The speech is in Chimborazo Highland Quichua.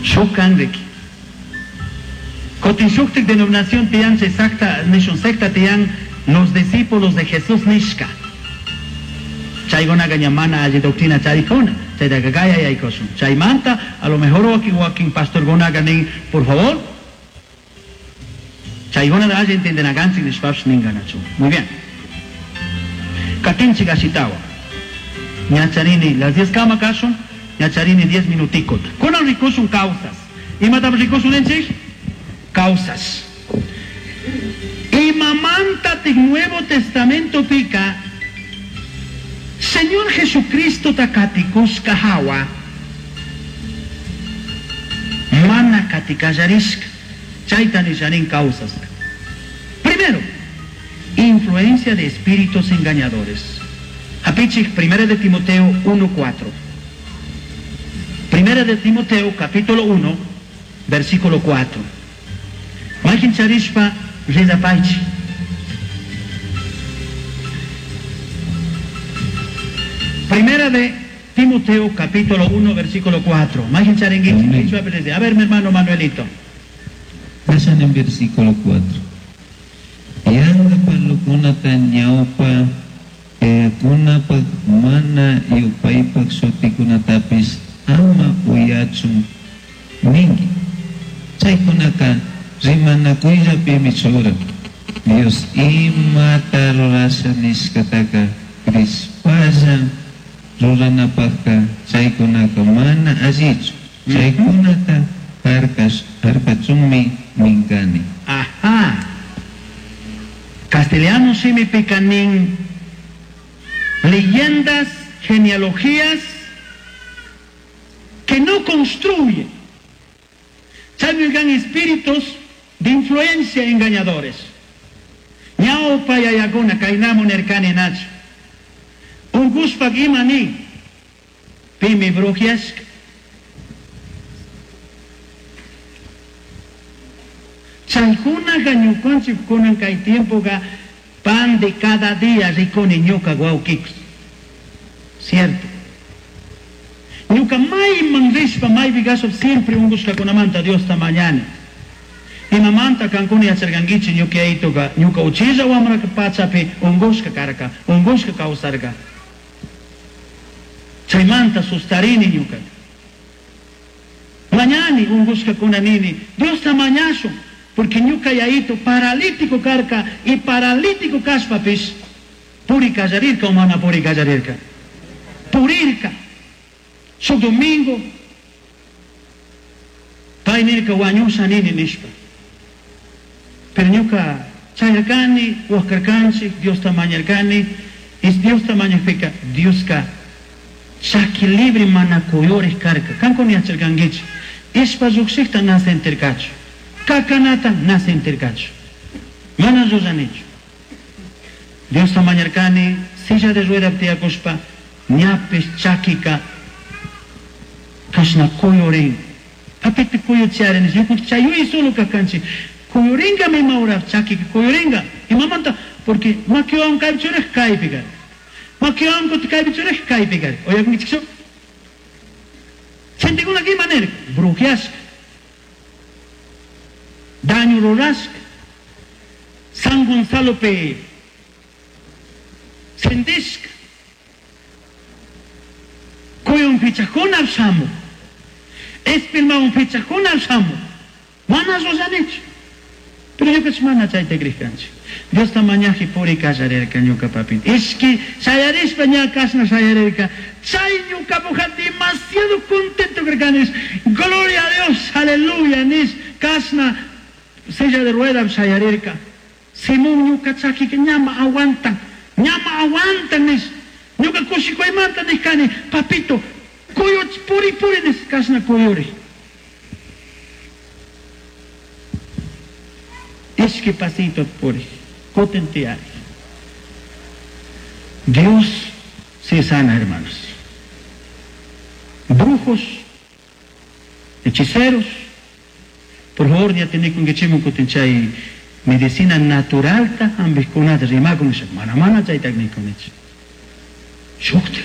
Shuk kan riki. Kutin shuktik denominación tiyan chay secta nishun secta tiyan Los Discípulos de Jesús nishka. Chaykunaqa ña mana alli doctrina charikuna. Chaytaqa kaya yaykushun. Chaymanta a lo mejor wakin wakin pastorkunaqa nin, por favor, chaykunata alli entiendenakanchik nishpapish ninkanachu. Muy bien. Katinchik ashitawan. Ña charini las 10 kama kashun, ña charini 10 minuticota. Kunan rikushun causas. Imatam rikushun ninchik? Causas. Imamantatik Nuevo Testamentopika Señor Jesucristota katikushka hawa mana katikallarishka. Chayta nishanin causas. Primero, influencia de espíritus engañadores. Hapichik, Primera de Timoteo 1.4. Primera de Timoteo, capítulo 1, versículo 4. Mayqin charishpa ridapaychik. Primera de Timoteo, capítulo 1, versículo 4. Mayqin charinkichik. Amén. A ver, mi hermano Manuelito. Pasan en versículo 4. Yanqa parlukunata ñawpa yayakunapaq mana yupaypaq shutikunatapis ama uyachun ninki. Chaykunaka rimanakuyllapimi churan. Dios imata rurasha nishkataka crishpalla ruranapaqqa chaykunaka mana allichu. Chaykunata harkachunmi minkani. Ajá. Castellano shimipika nin leyendas, genealogías que no construyen. Chaymi espíritus de influencia engañadores. Ñawpa yayakuna kaynamu nirkani nachu. Unkushpak ima nin. Pimi brujiashka. Chaykunaqa ñukanchik kunan kay tiempoqa pan de cada día rikuni ñuka wawqikus. Cierto. Ñuka mayman rishpa maypi kashpa siempre unkushkakunamanta Diosta mañani. Imamanta kankuna yacharkankichik ñuka yayituka ñuka uchilla wamra pachapi unkushka karka, unkushka kawsarka. Chaymanta sustarini ñuka. Mañani unkushkakuna nini, Diosta mañashun, porque ñuka yayito paralítico karka y paralítico kashpapish puri kallarirka o mana puri kallarirka. Purirka. Shuk domingo pay nirka wañusha nini nishpa. Pero ñuka chayarkani, waskarkanchik, Diosta mañarkani, y Diosta mañakpika Dioska chaki libre mana kuyurik karka. Kankuna yacharkankichik. Ishpa llukshikta na sentirkachu. Kakanata na sentirkachu. Mana llulanichu. Diosta mañarkani, silla de rueda tiyakushpa, ñapish chakika kashna kuyurin. Papito kuyuchiari nish, ñuka chayuy solo kakanchik. Kuyuringa ima hora chakika kuyuringa. Imamanta, porque makiwan kaypi churaj kaypi kar. Makiwan kuti kaypi churaj kaypi kar. Uyakunkichikchu? Gentekuna ima nirka? Brujiashka. Daño rurashka. San Gonzalopi sentishka. Kuyun pichakuna shamu. Espilmawan pichakuna shamu. Mana ruranichu. Pero ñukanchik mana chayta krikanchik. Diosta mañaji puri kallarirka ñuka papito. Ishki shayarishpa ña kashna shayarirka. Chay ñukapuja demasiado contento karkani. Gloria a Dios, aleluya, nish kashna silla de rueda shayarirka. Simón ñuka chakika ñama aguantan, ñama aguantan nish. Ñuka kushikuymanta nishkani, papito, kuyuch puri puri nish kashna kuyuri. Ishki pasito puri, kutin tiyari. Dios sí sana, hermanos. Brujos, hechiceros, por favor, ya tiene kutin chay medicina natural ta ambiskunata rimakun nisha, mana mana chay técnico nish. Shukti.